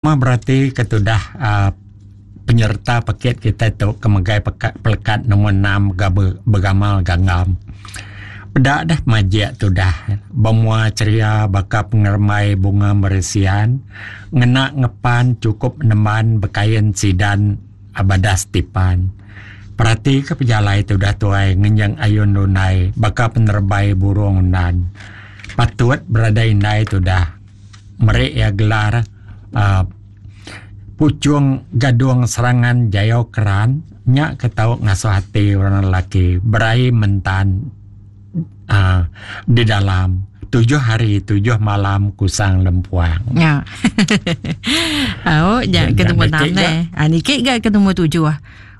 Meh berati ke tudah uhh penyereta pekit kitai tu ke megai pelekat nombor enam ga begamal ganggam. Peda deh majik tudah bemua ceria baka pengerembai bunga meresian ngena ngepan chukup nemban bekain sidan badas tipan. Perati ke pejalai tudah tuai ngenjing ayun lundai baka penerebai burung undan. Patut beradai indai tudah. Meri iya gelar uhh Puchung Gadung Serangan Jayau Keran nya ke tau ngasuh ati orang lelaki beraie mentan uhh di dalam tujuh hari tujuh malam kusang lempuang. Nya. Au nya ke nombor enam neh. Niki ga ke nombor tujuh.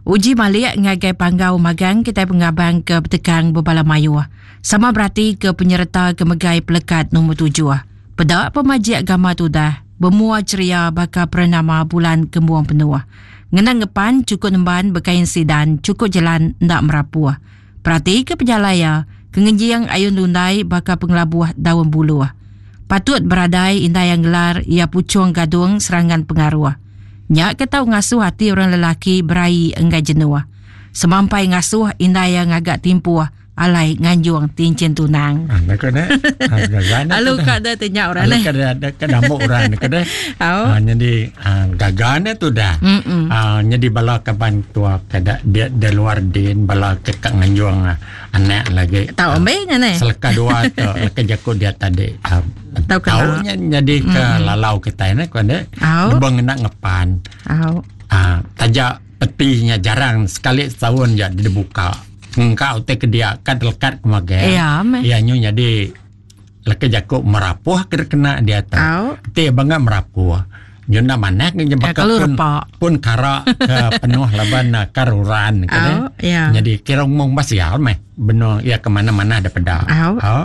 Uji malik ngagai panggau magang kitai pengabang ke betekang bebala mayuh. Sama berati ke penyereta ke megai pelekat nombor tujuh. Peda pemajik gama tudah, bemua ceria baka perenama bulan kembung penuh. Ngena ngepan chukup nemban bekain sidan chukup jelan enda merapuh. Perati ke pejalai iya, ke ngenjing ayun lundai baka pengelabuh daun buluh. Patut beradai indai iya ngelar iya puchung gadung serangan pengaruh. Nya ke tau ngasuh ati orang lelaki beraie enggai jenuh. Semampai ngasuh indai iya ngaga timpuh alai nganjung tinchin tunang. Ah, ka deh. Alu ka deh tanya orang neh. Ka deh ka dambuk orang ka deh. Ah, jadi ah, gaga ne tu dah. Ah, jadi bala kaban tua ka da dia di luar din bala ke ka nganjung ah, anak lagi. Tau ambe nya neh. Seleka dua tu leka jaku dia tadi. Ah, Tau tau nya jadi ke lalau kitai ne ko deh. Lubang ngena ngepan. Au. Ah, taja peti nya jarang sekali setaun ja dibuka. Engka utai ke dia ka lekat ke magang. Iya meh. Iya nyu nyadi leka jaku merapuh ke kena dia tu. Au. Ti banga merapuh. Nyu enda manah ke Ya, baka kalau pun repa. pun kara ke penuh laban karuran ke deh. Au, ya. Nyadi kira umum ba sial meh benung iya ke mana-mana da peda. Au. Au.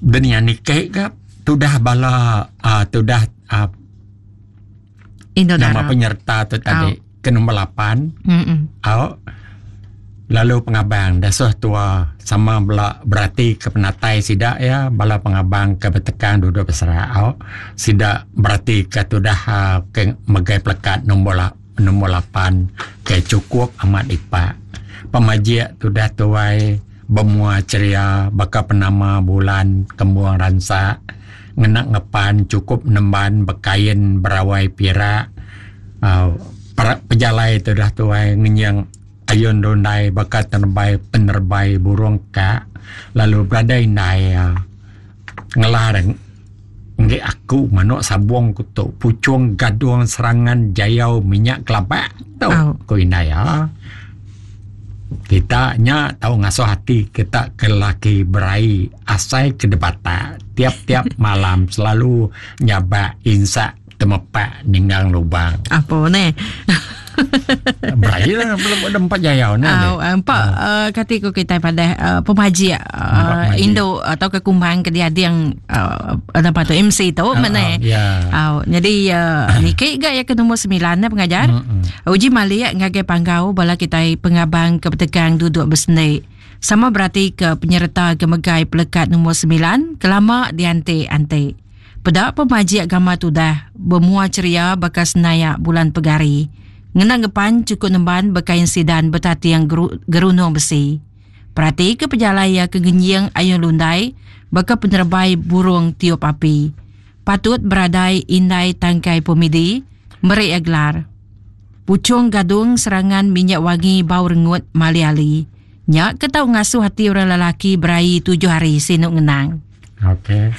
Dunia niki ka tudah bala uh, tudah uh, Indo nama Dara. penyerta tu tadi ke nombor 8 Mm-mm. au lalu pengabang dasuh tua sama bela berati ke penatai sida ya bala pengabang ke betekang duduk beserak au sida berati ke tudah uh, ke megai pelekat nombor la, nombor 8 ke cukup amat ipak pemajik tudah tuai bemua ceria baka penama bulan kembung ransak ngena ngepan chukup nemban bekain berawai pirak uhh pejalai tudah tuai ngenying ayun rundai baka tenebai penerebai burung ka lalu beradai indai iya ngelar enggi aku manok sabong ku tu puchong gadong serangan jayau minyak kelabak tu ku indai iya. Kita nya tau ngasuh ati kita ke lelaki beraie asai ke debatak tiap-tiap malam selalu nyabak insak temepak ninggang lubang. Apo neh. Beraie lah belum ada empat jayau neh. Au empat uh, kati ku kitai padah uh, pemajik uh, indu atau ke kumbang ke diading uh, apa tu MC tu uh, mana. Uh, yeah. Au jadi uh, niki ga ya ke nombor 9 ne pengajar. Mm-hmm. Uji malik ngagai panggau bala kitai pengabang ke betegang duduk besendi. Sama berati ke penyereta ke megai pelekat nombor 9 kelama dianti-anti. Peda pemajik gama tudah bemua ceria baka senayak bulan pegari. Ngena ngepan cukup nemban bekain sidan betating gerunung besi. Perati ke pejalai iya ke ngenjing ayun lundai baka penerebai burung tiup api. Patut beradai indai tangkai pemidi meri iya gelar. Puchung gadung serangan minyak wangi bau rengut mali ali. Nya ke tau ngasuh ati orang lelaki beraie tujuh hari sinu ngenang. Okey.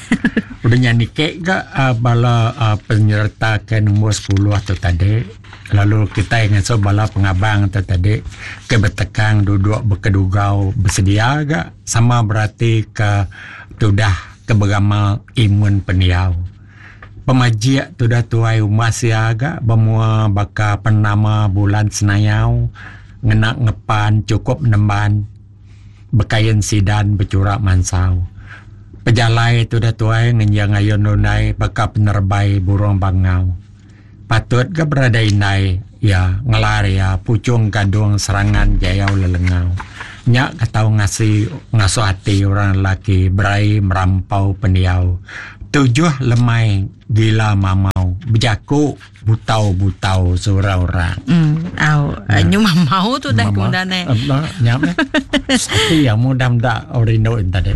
Udah nya niki ga uh, bala uh, penyerta ke nombor 10 tu tadi. Lalu kitai ngasuh bala pengabang tu tadi ke betekang duduk bekedugau besedia ga sama berati ke tudah ke beramal imun pendiau. Pemajik tudah tuai umbas iya ga bemua baka penama bulan senayau ngena ngepan chukup nemban. Bekain sidan bechura mansau. Pejalai tudah tuai ngenjing ayun lundai baka penerebai burung bangau. Patut ga berada indai iya ngelar iya puchung gadung serangan jayau lelengau. Nya ke tau ngasi ngasuh ati orang lelaki berai merampau pendiau. Tujuh lemai gila mamau bejaku butau-butau sura orang. Hmm, au. Ya. Nyu mamau tu dah ku dah ne. Nya meh. Ati yang mudah meda rindu tadi.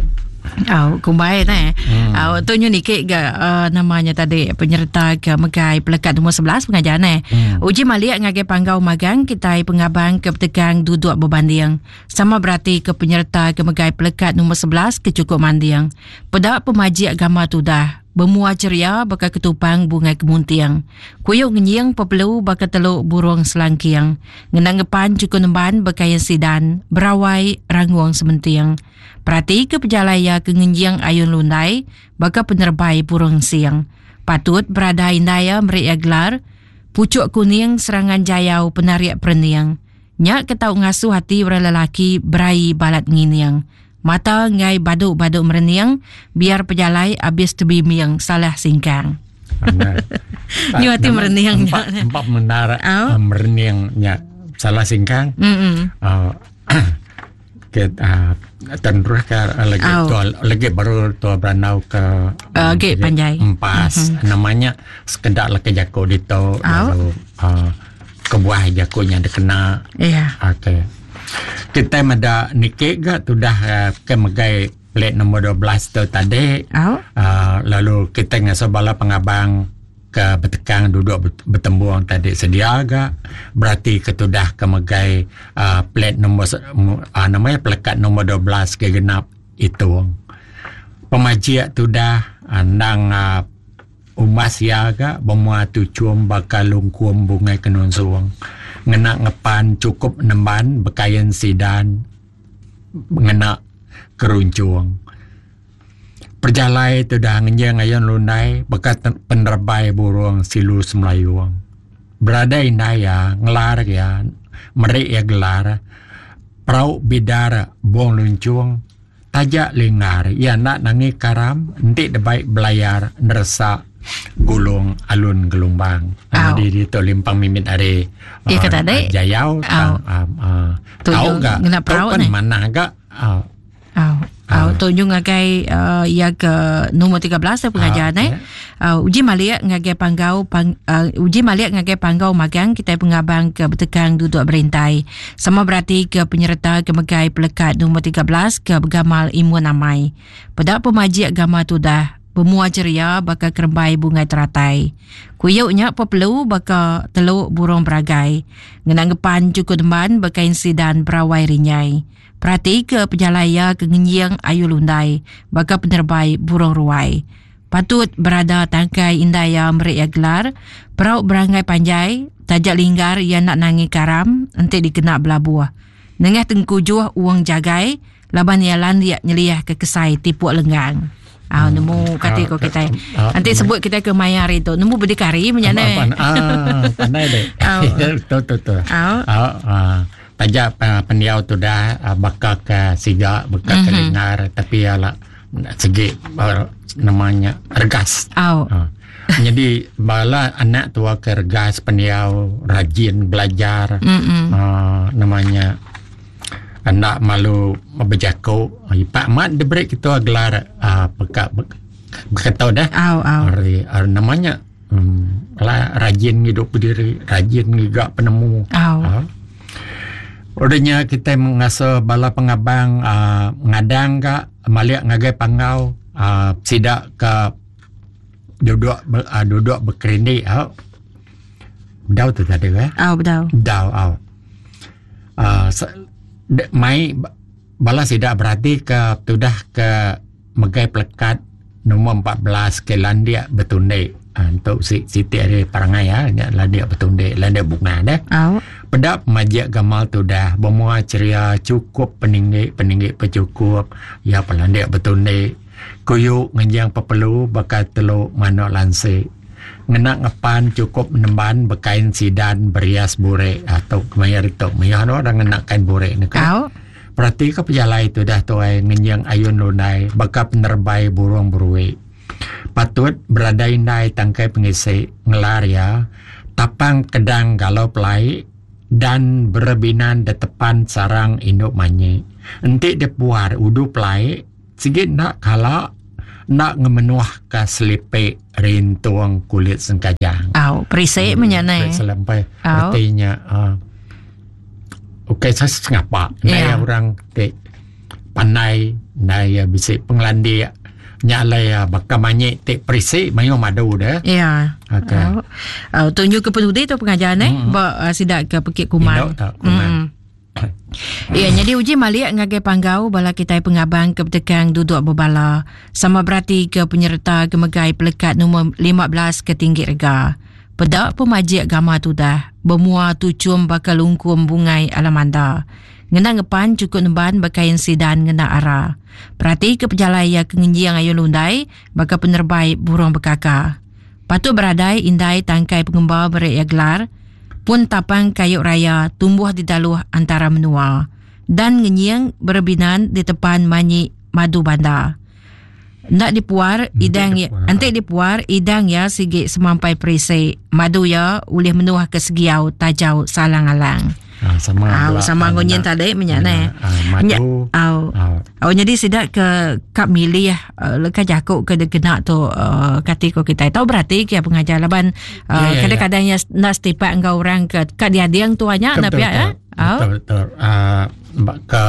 Au, kumbai ne. Hmm. Au, tu nyu niki ga uh, namanya tadi penyerta ke megai pelekat nombor 11 pengajar ne. Hmm. Uji malik ngagai panggau magang kitai pengabang ke petegang duduk berbanding. Sama berati ke penyerta ke megai pelekat nombor 11 ke cukup manding. Peda pemajik gama tudah, bemua ceria baka ketupang bungai kemunting. Kuyuk ngenying pepelu baka teluk burung selangking. Ngena ngepan cukup nemban bekain sidan, berawai rangung sementing. Perati ke pejalai iya ke ngenjing ayun lundai baka penerebai burung sing. Patut berada indai iya meri iya gelar Puchuk Kuning Serangan Jayau Penarik Perening. Nya ke tau ngasuh ati orang lelaki beraie balat ngining. Mata enggai badu-badu merening biar pejalai abis tebimbing salah singkang. Nyu ati merening nya. Empat mendar oh. merening nya salah singkang. Mm -mm. Uh, ke uh, terus ke lagi oh. tua lagi baru tua beranau ke uh, okay, panjai empas mm-hmm. namanya sekedak laki jaku ditu oh. lalu uh, kebuah jaku nya dikena yeah. okey kita meda niki ga tudah uh, ke megai plate nombor 12 tu tadi oh. uh, lalu kita ngasuh bala pengabang ke betekang duduk betembung tadi sedia ga berati ke tudah ke megai uh, plate nombor uh, namanya pelekat nombor 12 ke genap itu pemajik tudah endang uh, umbas iya ga bemua tuchum baka lungkum bungai kenunsung ngena ngepan chukup nemban bekain sidan ngena kerunchung. Pejalai tudah ngenjing ayun lundai baka penerebai burung silu semelayung. Berada indai iya ngelar iya meri iya gelar perau bidar bung lunchung taja linggar iya enda nangi karam enti debai belayar neresa gulung alun gelumbang. Jadi ditu limpang mimit ari uh, jayau tang uh, tau ga tau kan manah ga uh, Au. Au tu nyu ngagai uh, iya ke nombor 13 ya pengajar uh, eh. Uh, uji malik ngagai panggau pang, uh, uji malik ngagai panggau magang kita pengabang ke betekang duduk berintai. Sama berarti ke penyerta ke megai pelekat nombor 13 ke begamal imun amai. Peda pemajik gama tudah bemua ceria baka kerembai bungai teratai. Kuyuk nya pepelu baka teluk burung beragai. Ngena ngepan cukup demban bekain sidan berawai rinyai. Peratika pejalai iya ke ngenjing ayu lundai baka penerebai burung ruai. Patut berada tangkai indai iya meri iya gelar perau beranggai panjai taja linggar iya enda nangi karam enti dikena belabuh. Nengah tengkujuh uong jagai laban iya landik nyeliahka kesai tipuk lenggang. Ah nemu kati ko kitai. Enti sebut kitai ke maya hari tu nemu berdikari menya ne. Ah pandai deh. Tu tu tu. Ah Taja pendiau tudah baka ke siga baka ke lingar tapi iya la segi nama nya regas. Au. Nyadi bala anak tua ke regas pendiau rajin belajar uhh nama nya enda malu bejaku ipak amat diberi ketua gelar uhh peka baka deh. Au au. Ari nama nya. Hmm, lah rajin ngidup bediri, rajin ngiga penemu. Oh. Ha. Udah nya kita mengasuh bala pengabang uh, ngadang ka malik ngagai panggau uh, sida ke duduk uh, duduk berkerindik ha. Bedau tu tadi eh? Oh, bedau. Bedau, oh. Uh, mai bala sida berati ke tudah ke megai pelekat Nombor 14 ke landik betundik. Ha, untuk si, siti ari perangai ya, nya landik betundik, landik bunga deh. Au. Peda pemajik gamal tudah, bemua ceria cukup peninggi, peninggi pecukup, ya pelandik betundik. Kuyu ngenjing pepelu baka telu manuk lansik. Ngena ngepan cukup nemban bekain sidan berias burik. Ha, tu kemaya tu mayuh orang ngena kain burik ni kan. Au. Peratika pejalai tudah tuai ngenjing ayun lundai baka penerebai burung beruik. Patut beradai indai tangkai pengisi ngelar iya tapang kedang galau pelai dan berebinan detepan sarang indu manyi. Enti dipuar udu pelai sigi enda kala. Enda ngemenuh ka selipi rintung kulit sengkajang. Au, perisik meh nya neh. Perisik lempai. Reti nya uh, ukai saya sengapa. Ndai yeah. orang ti pandai, ndai ya bisi pengelandik. Nya alai ya baka manyi ti perisik mayuh madu deh. Ya. Okey. Au. Au tunjuk ke penudi tu pengajar neh mm-hmm. ba uh, sida ke pekit kumang. Indu tak kumang. Mm. Iya nyadi uji malik ngagai panggau bala kitai pengabang ke betekang duduk bebala sama berati ke penyereta ke megai pelekat numur 15 ke tinggi rega. Peda pemajik gama tudah bemua tuchum baka lungkum bungai alamanda. Ngena ngepan chukup nemban bekain sidan ngena ara. Perati ke pejalai iya ke ngenjing ayun lundai baka penerebai burung bekaka. Patut beradai indai tangkai pengemba beri iya gelar pun tapang kayu raya tumbuh di daluh antara menua dan ngenying berebinan di tepan manyi madu banda. Enda dipuar idang iya, enti dipuar idang iya sigi semampai perisi. Madu iya ulih menuh ke segiau tajau salang alang. Ah, sama Au, sama ngunyin tadi menya neh. Ah, madu. Au. Au jadi sida ke ka milih uh, leka jaku ke dikena tu uh, kati ko kitai. Tau berati ke pengajar laban uh, Ya, ya, ya. kadang-kadang ya enda setipak enggau orang ke ka diading tu nya Betul, na pia ya. Au. Betul betul. Ah, baka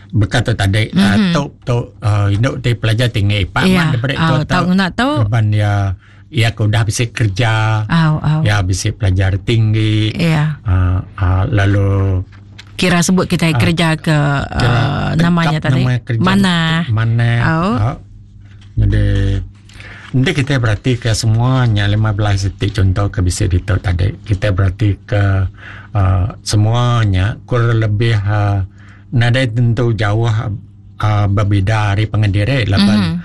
baka tu tadi mm-hmm. tu tu uh, induk ti pelajar tinggi pak Ya. mat daripada Au, tu tau ngena tu. Laban ya ia ke udah bisi kerja Au, au. ya bisi pelajar tinggi Ya. uh, uh, lalu Kira sebut kita kerja ke kira uh, namanya tegap tadi. nama kerja Mana? mana Au. uh, jadi nanti kita berarti ke semuanya 15 detik contoh ke bisi ditu tadi kita berarti ke uh, semuanya kurang lebih uh, nadai tentu jauh uh, berbeza ari pangan diri laban Mhm.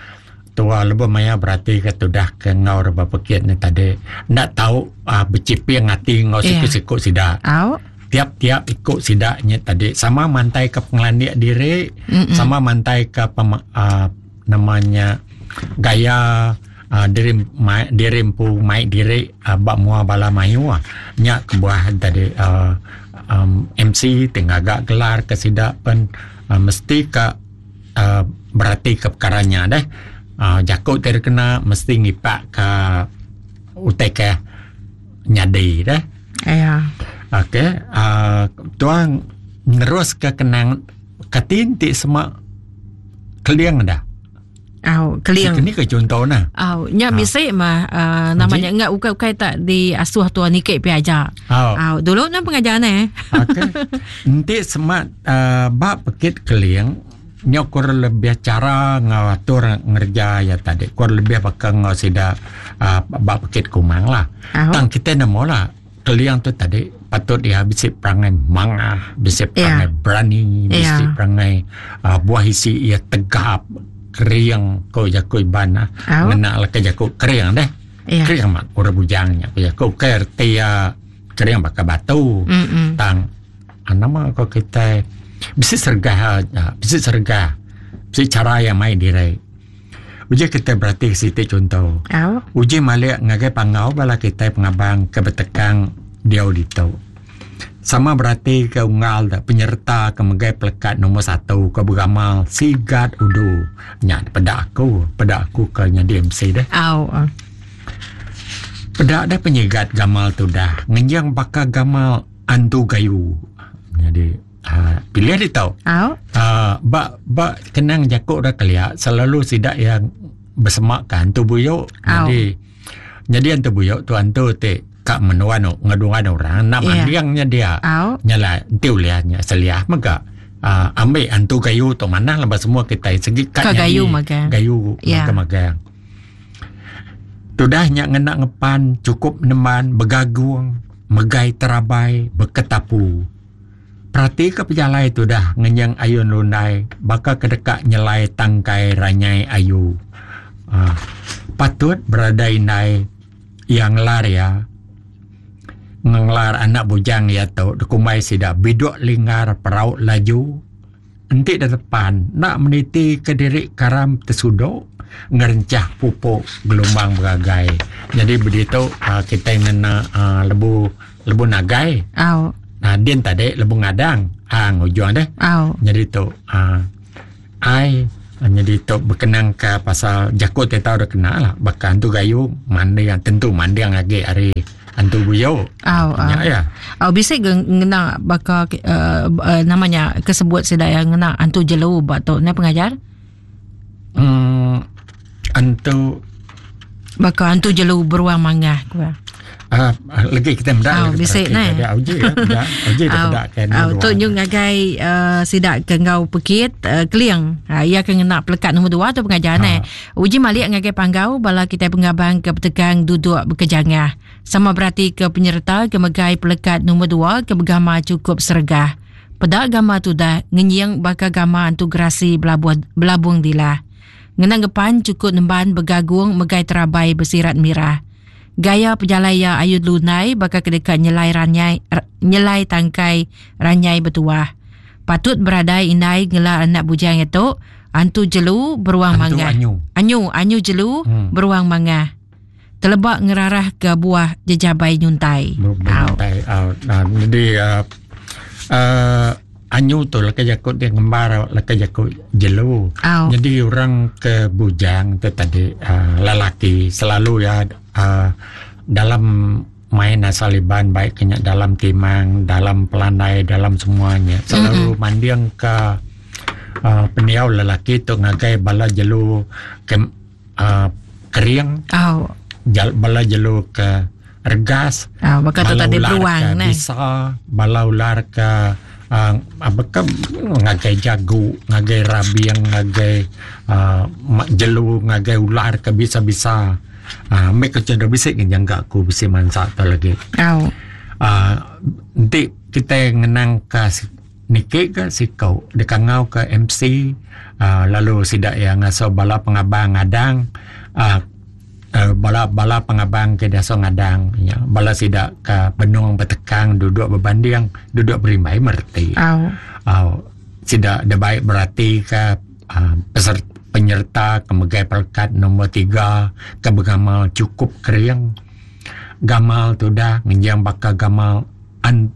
tua lebuh maya berarti ke tudah ke enggau reba pekit ni tadi enda tau uh, beciping ati enggau Iya. siku-siku sida Au. tiap-tiap ikut sida nya tadi sama mantai ke pengelandik diri Mm-mm. sama mantai ke pem, uh, namanya gaya uh, diri mai, diri empu mai diri uh, bak mua bala mayuh nya kebuah tadi uh, um, MC ti ngaga gelar ke sida pen uh, mesti ka uh, berati ke perkara nya deh uh, jaku ti kena mesti ngipak ke utai ke nyadi deh. Ya. Okey, uh, tuang nerus ke kenang katin ti semak keling dah. Au, keling. Ini ke contoh nah. Au, nya Ah. bisi mah uh, namanya enggak ukai-ukai tak diasuh tuan nikik pi aja. Oh. Au, dulu nan pengajar ne. Okey. Enti semak uh, bab pekit keling nya kurang lebih cara ngatur ngerja ya tadi. Kurang lebih baka ngau sida uh, bab pekit kumang lah. Au. Tang kita nemu lah keling tu tadi patut dia bisi perangai mangah, bisi perangai berani, bisi Ya. perangai uh, buah isi ia tegap, kering ko jaku iban ah. Au. Ngena lah ke jaku kering deh. Ya. Kering amat orang bujangnya. Ko jaku kerti ya kering baka batu. Mm-mm. Tang ah, nama ko kita bisi sergah ah, bisi sergah bisi cara yang main diri. Uji kita berarti siti contoh. Au. Uji malik ngagai pangau bala kita pengabang ke betekang dia ditu. Sama berarti ke unggal da penyerta ke megai pelekat nombor 1 ke beramal sigat udu. Nya peda aku ke nyadi MC deh. Au. Peda dah penyegat gamal tu dah. Ngenjang baka gamal antu gayu. Jadi uh, pilih dia tau. Au. Uh, bak bak kenang jakuk dah kelia selalu sidak yang bersemak kan hantu buyuk. Au. Jadi jadi hantu buyuk tu hantu te kak menuan ngadungan orang nak Ya. mandiangnya dia. Au. Nyala enti uliahnya seliah mega. Uh, ambil hantu gayu tu mana lepas semua kita segi kat Ka nyadi gayu magang. Gayu Ya. magang. Tudah nyak ngena ngepan cukup neman begagung megai terabai beketapu. Perhati ke pejalai tu dah ngenyang ayun lundai baka kedekak nyelai tangkai ranyai ayu. Uh, patut berada indai yang lar ya. Ngelar anak bujang ya tu dekumai sida biduk linggar perauk laju. Entik di depan nak meniti ke diri karam tersuduk ngerencah pupuk gelombang beragai. Jadi begitu uh, kita ngena uh, lebu lebu nagai. Au. Nah, din tadi lebu ngadang. Ah, ngujung deh. Au. Jadi tu uh, ai Nyadi tu bekenang ka pasal jaku ti tau deka kena lah baka antu gayu manding tentu manding agi ari antu buyu. Au Nya au. iya. Au bisi ga ngena baka uh, uh, nama nya ke sebut sida iya ngena antu jelu ba tu ne pengajar? Hmm antu baka antu jelu beruang mangah ku. Uh, lagi kita meda oh, bisi neh. Dia uji ya, meda. Uji dia peda ke oh, tu nyung ngagai uh, sida ke enggau pekit uh, keling. Uh, ia ke ngena pelekat nombor 2 tu pengajar neh. Uji malik ngagai panggau bala kitai pengabang ke betegang duduk bekejangah. Sama berati ke penyereta ke megai pelekat nombor 2 ke begama cukup seregah. Peda gama tudah ngenying baka gama antu gerasi belabuh belabung dilah. Ngena ngepan cukup nemban begagung megai terabai besirat mirah. Gaya pejalai iya ayun lundai baka ke deka nyelai ranyai nyelai tangkai ranyai betuah. Patut beradai indai ngela anak bujang iya tu antu jelu beruang Antu mangah. anyu. Anyu anyu jelu hmm. beruang mangah. Teleba ngerarah ke buah jejabai nyuntai. Nyuntai. Au. Nah, jadi uh, uh, anyu tu leka jaku dia ngembar leka jaku jelu. Au. Jadi orang ke bujang tu tadi uh, lelaki selalu ya uh, dalam main asal Iban baik kenya dalam timang, dalam pelandai, dalam semuanya selalu mm-hmm. manding ke uh, pendiau lelaki tu ngagai bala jelu ke uh, kering. Au. Jal, bala jelu ke regas. Au, baka tu bala tadi ular beruang ke neh. Bisa, bala ular ke uh, apa ke ngagai jagu, ngagai rabing, ngagai uh, jelu, ngagai ular ke bisa-bisa. Uh, Mek ke cendera bisi ke jangka aku bisi mansa tu lagi. Au. Uh, enti kita ngenang ke niki ke siku dikangau ke MC uh, lalu sida yang ngasuh bala pengabang ngadang uh, uh, bala bala pengabang ke diasuh ngadang ya bala sida ke benung betekang duduk berbanding duduk berimbai mereti. Au. Au sida da baik berati ke uh, peserta penyerta ke megai pelekat nombor 3 ke bergamal cukup kering gamal tu dah ngenjang baka gamal an,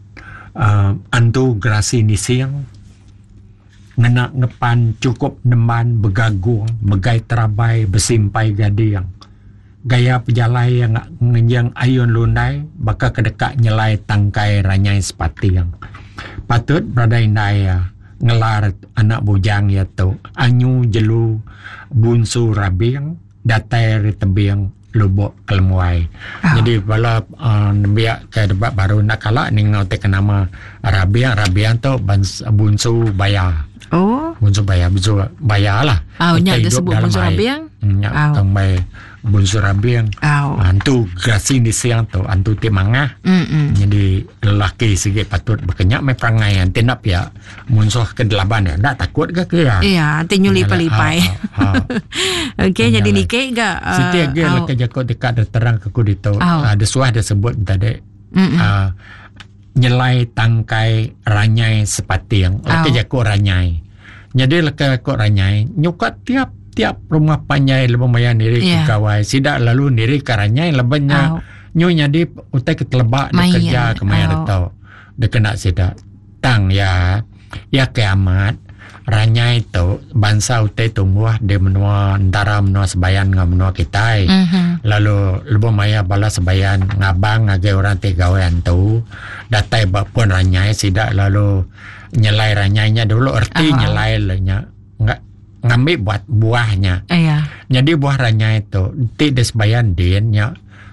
uh, antu gerasi nising ngena ngepan cukup nemban begagung megai terabai besimpai gading gaya pejalai yang ngenjang ayun lundai baka kedekak nyelai tangkai ranyai sepating patut berada indai ya ngelar anak bujang ya tu anyu jelu bunsu rabing datai ari tebing Lubok Kelemuai. Oh. Jadi bala uh, nembiak ke debat baru nak kala ninga te ke nama Rabiang, Rabiang tu bans, bunsu baya. Oh. Bunsu baya, bunsu baya lah. Oh, nya Utai dia hidup sebut dalam bunsu air. Rabiang? Nya Oh. tang bai bunsu rabiang. Oh. Antu gerasi di siang tu, antu ti mangah. Mm-mm. Jadi lelaki sikit patut berkenyak mai perangai anti nak pia munsuh ke delaban dia. Ndak takut ke ke ya? Iya, anti nyuli pelipai. Ha. Okey, jadi Nyalai. nike ga uh, Siti lagi au. leka jaku dekat ada terang ke ku ditu. Au. Ada suah dia sebut tadi. Mm-mm. Nyelai tangkai ranyai sepating. Leka Au. jaku ranyai. Jadi leka jaku ranyai nyukat tiap tiap rumah panjai lebih maya niri Ya. ke gawai. Sidak lalu niri ke ranyai lebihnya Au. nyu jadi utai ketelebak dia Main. kerja ke maya Au. dia tau. Dia kena sidak. Tang ya ya kiamat ranyai tu bangsa utai tumbuh di menua antara menua sebayan dengan menua kita. Mhm. Lalu lebuh maya bala sebayan ngabang ngagai orang ti gawean tu datai ba pun ranyai sidak lalu nyelai ranyainya dulu erti Ah. nyelai le nya nga, ngambil buat buahnya. Iya. Jadi buah ranyai tu ti di sebayan din nya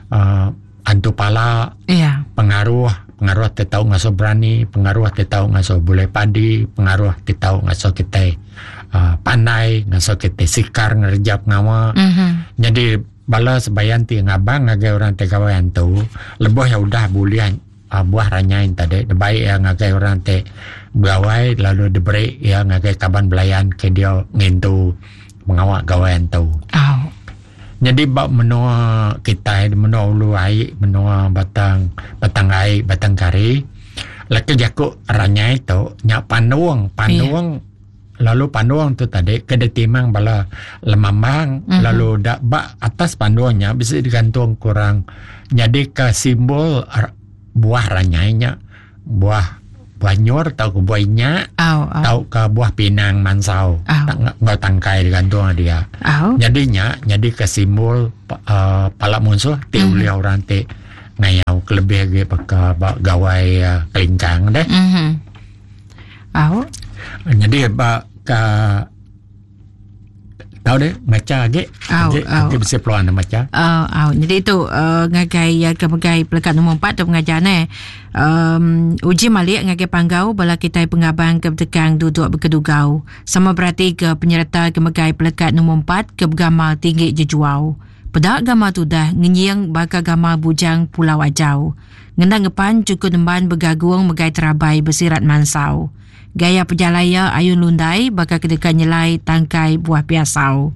uh, antu pala Iya. pengaruh pengaruh ti tau ngasuh berani, pengaruh ti tau ngasuh boleh padi, pengaruh ti tau ngasuh kita uh, pandai, ngasuh kita sikar ngerja pengawa. Mhm. Jadi bala sebayan ti ngabang ngagai orang ti gawean tu, lebuh yang udah boleh uh, buah ranyai tadi, baik yang ngagai orang ti begawai lalu diberi ya ngagai kaban belayan ke dia ngintu pengawak gawean tu. Au. Jadi bab menua kita menua ulu ai, menua batang batang ai, batang kari, laki jaku ranyai tu nyak panduang, panduang lalu panduang tu tadi ke ditimang bala lemambang, Mhm. lalu dak bak atas panduangnya bisa digantung kurang jadi ke simbol buah ranyainya, buah buah nyur tauka buah inyak tauka buah pinang mansau enggau tangkai digantung dia. Nyadi nya nyadika simbol uh, pala munsuh ti mm-hmm. ulih orang ti ngayau kelebih agi baka ba gawai uh, kelingkang deh. Mm-hmm. Au. Nyadi ba ka Tau deh macha agi. Au, Agi au. agi bisi peluang deh macha. Au, au. Jadi tu uh, ngagai ya ke megai pelekat nombor 4 tu pengajar ne. Um, uji malik ngagai panggau bala kitai pengabang ke betekang duduk bekedugau. Sama berati ke penyereta ke megai pelekat nombor 4 ke begamal tinggi jejuau. Peda gamal tudah ngenying baka gamal bujang Pulau Ajau. Ngena ngepan cukup nemban begagung megai terabai besirat mansau. Gaya pejalai iya ayun lundai baka ke deka nyelai tangkai buah piasau.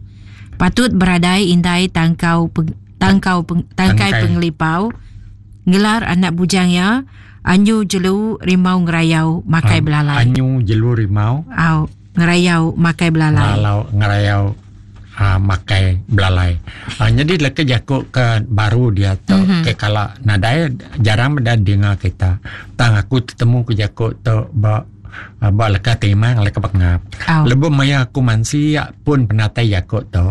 Patut beradai indai tangkau peng, tangkau peng, tangkai, Tangkai. pengelipau ngelar anak bujang iya anyu jelu rimau ngerayau makai belalai. Anyu jelu rimau. Au ngerayau makai belalai. Ngalau ngerayau uh, makai belalai. Uh, jadi leka jaku ke baru dia tu mm -hmm. ke kala nadai jarang beda dengar kita. Tang aku tetemu ke jaku tu ba uh, ba leka timang leka pengap. Oh. Lebuh maya aku mansi pun penatai jaku tu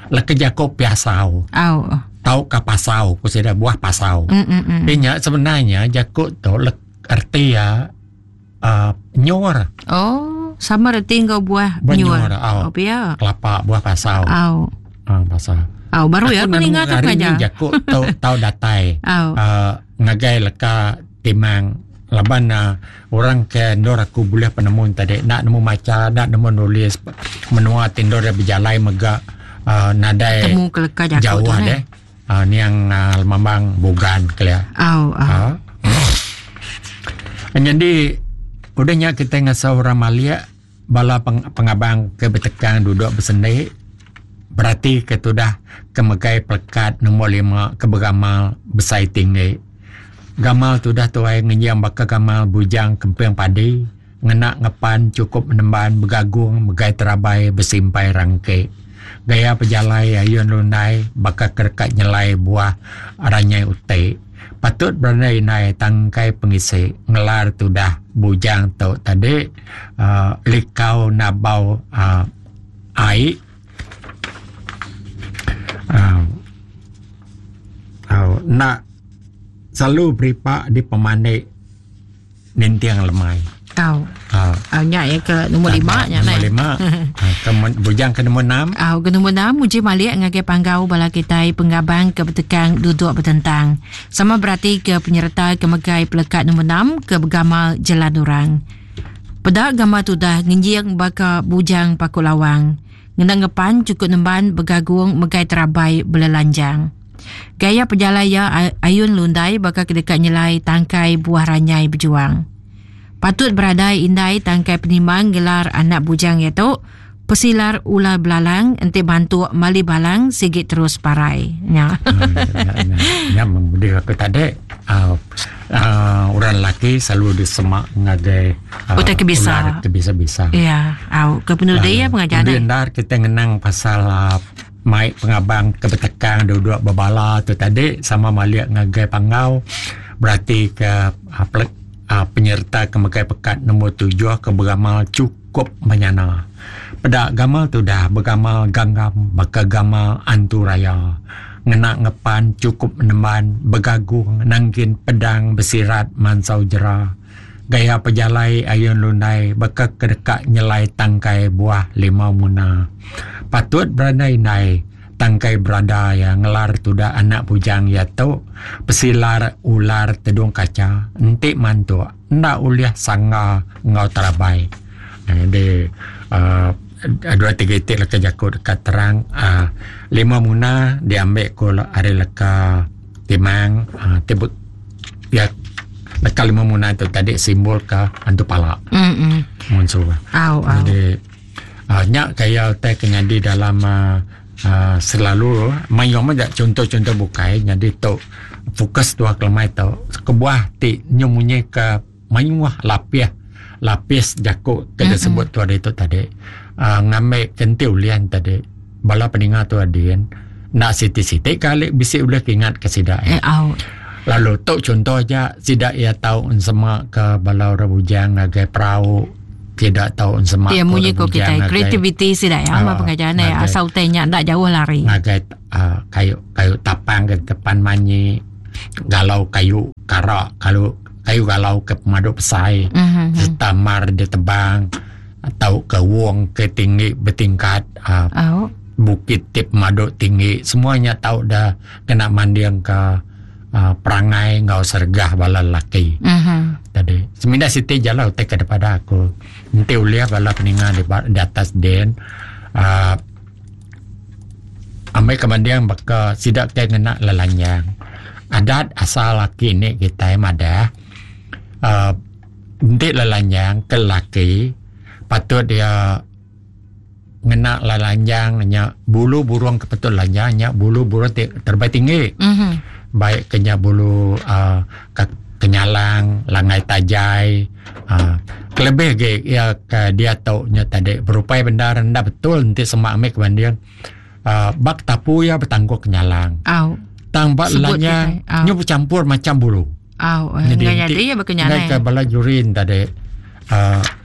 leka jaku piasau. Oh. Tau ka pasau, ku sida buah pasau. Mm -mm. -mm. Inya sebenarnya jaku tu erti ya uh, nyur. Oh, sama reti enggau buah Buah nyur. nyur, au. Oh, pia. Kelapa buah pasau. Au. Ah, pasau. Au, baru ya aku ninga tu hari ni pengajar. jaku tau tau datai. Au. Uh, ngagai leka timang laban uh, orang ke endur aku bulih penemu tadi nak nemu macha nak nemu nulis menua ti endur dia bejalai mega uh, nadai Temu ke leka jaku jauh tu deh. ne. Uh, niang uh, lemambang Bugan kelia. Au, au. Ha. Jadi udah nya kita ngasuh orang malik bala peng, pengabang ke betekang duduk bersendik berarti ke tudah ke megai pelekat nombor 5 ke beramal besai tinggi. Gamal tudah tuai ngenjing baka gamal bujang kemping padi ngena ngepan cukup menemban begagung megai terabai besimpai rangke. Gaya pejalai ayun lundai baka kerekat nyelai buah ranyai utik. Patut berandai indai tangkai pengisi ngelar tudah bujang tu tadi uh, likau nabau uh, ai uh, uh, nak selalu beripak di pemandik ninting lemai. Au. Uh, Au nya ya ke nombor 5 nya Nombor nai. 5. uh, ke, bujang ke nombor 6. Au ke nombor 6 uji malik ngagai panggau bala kitai pengabang ke betekang duduk betentang. Sama berarti ke penyerta ke megai pelekat nombor 6 ke begamal jelan orang. Peda gambar tudah ngenjing baka bujang paku lawang. Ngena ngepan cukup nemban begagung megai terabai belelanjang. Gaya pejalai iya ayun lundai baka ke deka nyelai tangkai buah ranyai bejuang. Patut beradai indai tangkai penimang gelar anak bujang iya tu pesilar ular belalang enti bantuk mali balang sigi terus parai. Nya. Nya mengudi aku tadi uh, uh, orang lelaki selalu disemak ngagai uh, Utai ke bisa. Ular ke bisa-bisa. Ya, au ke penudi ya pengajar Udah ni. endar kita ngenang pasal uh, mai pengabang ke betekang duduk bebala tu tadi sama malik ngagai panggau berarti ke uh, pelek, uh, penyerta ke megai pekat nombor 7 ke beramal cukup menyana. Peda gamal tu dah bergamal ganggam baka gamal antu raya. Ngena ngepan cukup menemban begagung nangkin pedang besirat mansau jera. Gaya pejalai ayun lundai baka kedekak nyelai tangkai buah limau muna. Patut berandai-andai tangkai berada ya ngelar tuda anak bujang ya tu pesilar ular tedung kaca entik mantuk ndak ulih sangga ngau terabai. Jadi dua tiga itik leka jaku dekat terang uh, lima muna diambil ko hari leka timang uh, tibut ya leka lima muna tu tadi simbol ke antu pala Mm. munsuh. Au au. Jadi uh, nyak kaya utai ke nyadi dalam uh, uh, selalu mayung aja contoh-contoh bukai nyadi tu fokus tua kelemai tu kebuah ti nyemunyi ke mayuh lapih lapis jaku ke disebut tu ada itu tadi uh, ngambil kenti ulian tadi bala peninga tu adin nak siti-siti kali bisi ulih ingat ke sida Eh, au. Lalu tu chunto aja sida iya tau ensema ke bala orang bujang ngagai perau sida tau ensema ke orang bujang ngagai kreativiti sida ya uh, pengajar ne asal utai nya ndak jauh lari ngagai uh, kayu kayu tapang ke tepan manyi galau kayu kara kalau kayu galau ke pemadu besai mm-hmm. serta mar ditebang atau ke wong ke tinggi bertingkat uh, oh. bukit ti pemadu tinggi semuanya tau dah kena manding ke uh, perangai enggau sergah bala lelaki. Uh-huh. Tadi semina siti jala utai ke daripada aku. Enti ulih bala peninga di, di atas den uh, amai ke manding baka sida ke ngena lelanyang. Adat asal laki ni kitai madah uh, enti lelanyang ke lelaki patut dia ngena lanjang nya bulu burung ke patut lanjang nya bulu burung ti terebai tinggi mm-hmm. baik ke nya bulu uh, ke kenyalang langai tajai uh, kelebih ge ya ke dia tu nya tadi berupai bendar enda betul enti semak amik banding uh, bak tapu ya betangguh kenyalang au tang bak lanya nyu bercampur macam bulu au jadi jadi ya bekenyalang ke bala jurin tadi uh,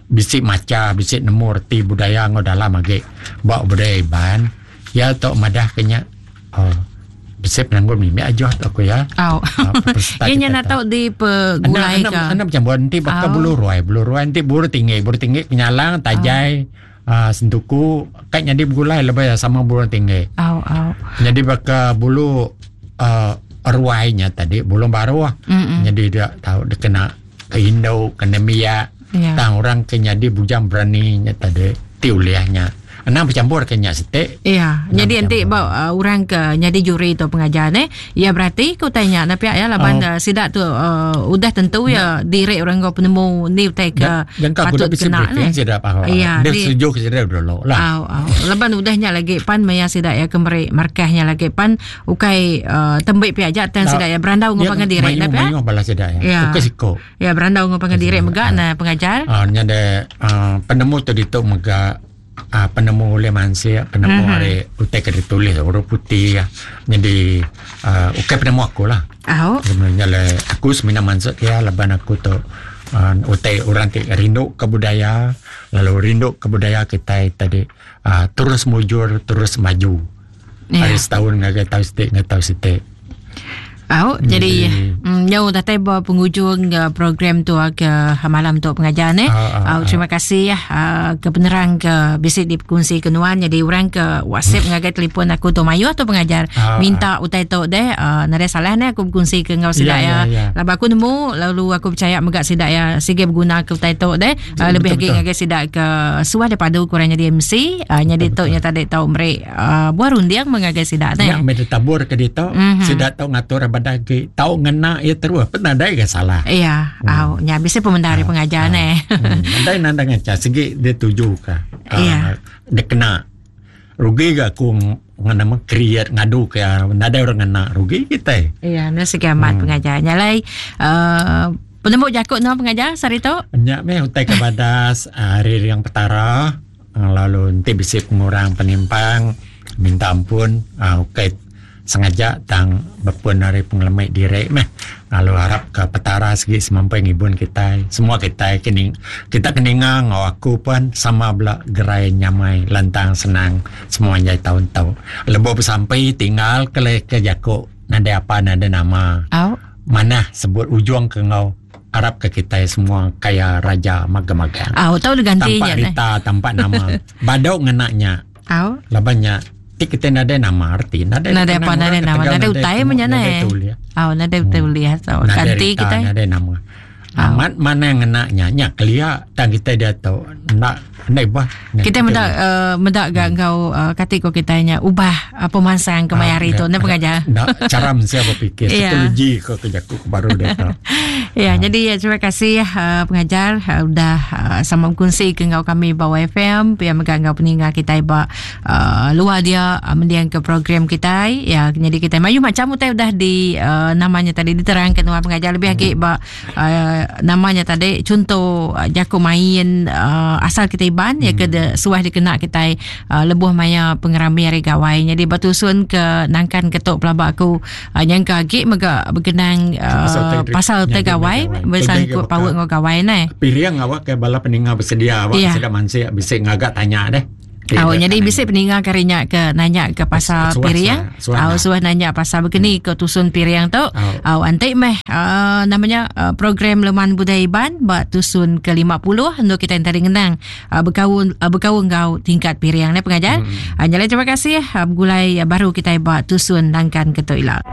Bisi macha, bisi nemu reti budaya enggau dalam agi ba budaya Iban. Iya tu madah ke nya uhh bisi penanggul mimit ajuh tu ku iya. Au. Iya nya enda tau dipegulai ka. Enda bechampur enti baka bulu ruai, bulu ruai enti bulu tinggi, bulu tinggi kenyalang tajai uhh sentuku ka nyadi begulai lebih sama bulu tinggi. Au au. Nyadi baka bulu uhh ruai nya tadi bulu baruh nyadi dia tau dikena. ke indu ke nembiak yeah. tang orang ke nyadi bujang berani nya tadi ti ulih nya anang bercampur ke nya siti iya jadi enti ba uh, orang ke nyadi juri tu pengajar ne ya berarti ku utai nya tapi ya laban oh. uh, sida tu uh, udah tentu ya diri orang enggau penemu ni utai ke patut kena ne sida pa ya dia setuju ke sida dulu lah au au laban udah nya lagi pan maya sida ya ke meri markahnya lagi pan Ukai uh, tembik pi aja tang sida ya berandau ngau pangan diri na mayuh bala sida ya. ya. Ukai siko. Ya berandau ngau pangan diri mega na pengajar. Ah uh, nya de uh, penemu tu ditu mega uh, penemu oleh mansia, penemu mm-hmm. ari utai ke ditulis huruf putih ya. Jadi uh, ukai penemu aku lah. Oh. Sebenarnya le aku semina mansut ya laban aku tu uh, utai orang ti rindu ke budaya lalu rindu ke budaya kita tadi uh, terus mujur terus maju. Yeah. Ari setahun ngagai taun siti ngagai taun siti. Au, jadi mm, nyau datai ba penghujung uh, program tu ke malam tu pengajar ne. Uh, uh, terima kasih ya uh, ke penerang ke bisi dikongsi ke nuan jadi orang ke WhatsApp ngagai telefon aku tu mayuh tu pengajar uh, minta uh. utai tu deh uh, nadai salah ne aku berkongsi ke enggau sida ya. Yeah, yeah. Laban aku nemu lalu aku percaya mega sida ya sige berguna ke utai tu deh. Uh, lebih lagi ngagai sida ke suah daripada kurang jadi MC uh, jadi tu nya tadi tau meri uh, buah runding mengagai sida te. Nya meh ditabur ke ditu, mm-hmm. sida tau ngatur abadah agi, tau ngena iya terus, pen nadai ga salah. Iya, mm. au nya bisi pemendar uh, pengajar uh, ne. mm. Nadai nandang ngaca sigi dia tuju ka. Uh, iya. Dia kena rugi ga aku nama create ngadu ke nadai orang ngena rugi kita. Iya, ne sigi amat hmm. pengajar. Nya lai uh, penemu jaku no pengajar sehari tu. Nya meh utai ke badas hari riang petara. Lalu enti bisi pengurang penimpang minta ampun ukai sengaja tang bepun ari pengelemi diri meh lalu arap ka petara sigi semampai ngibun kitai semua kitai ke kita ke ninga enggau aku pun sama bela gerai nyamai lantang senang semua anjai taun tu. Lebuh besampi tinggal ke leka jaku nadai apa nadai nama manah sebut ujung ke enggau. Arap ke kitai semua kaya raja magang-magang. Au tau diganti Tampak nya. rita, tampak nama. Badau ngena nya. Au. Laban nya ti kitai nadai nama reti nadai Nadai apa dikenang nadai orang nama, ketegal nadai utai temu, meh nya nadai neh. tulih. Au nadai utai ulih tau. Nadai Ganti rita, kitai. nadai nama. Amat manah ngena nya nya kelia tang kitai diatu enda enda ibuh. Kitai meda uh, meda ga enggau uh, kati ko kitai nya ubah uh, pemansang kemaya hari tu ne pengajar. Enda cara mensia berfikir Ya. psikologi ko ke jaku ke baru diatu. Ya, jadi ya, terima kasih uh, pengajar uh, udah uh, sama berkongsi ke enggau kami ba YFM, pia mega enggau peninga kitai ba uh, luar dia uh, mendiang ke program kitai. Ya, jadi kitai mayuh macam utai udah di uh, namanya tadi diterangkan nuan pengajar lebih agi ba uh, namanya tadi chunto uh, jaku main uh, asal kita Iban hmm. ya ke de, suah dikena kita uh, lebuh maya pengerami hari gawai. Jadi batusun ke nangkan ketuk pelaba aku uh, nyangka agi mega berkenang uh, pasal te gawai bersangkut paut ngau gawai neh. Piring awak ke bala peninga bersedia awak yeah. sida mansik bisi ngaga tanya deh. Oh, jadi bisi peninga kari nya ke nanya ke pasal piring. Oh, suah nanya pasal begini ke tusun piring tu. Oh, antik meh uh, namanya uh, program Leman Budaya Iban ba tusun ke 50 untuk kita yang tadi ngenang uh, berkaul uh, berkaul enggau tingkat piring ne pengajar. Hmm. Uh, nyalai terima kasih uh, begulai uh, baru kita ba tusun nangkan ke tu ila.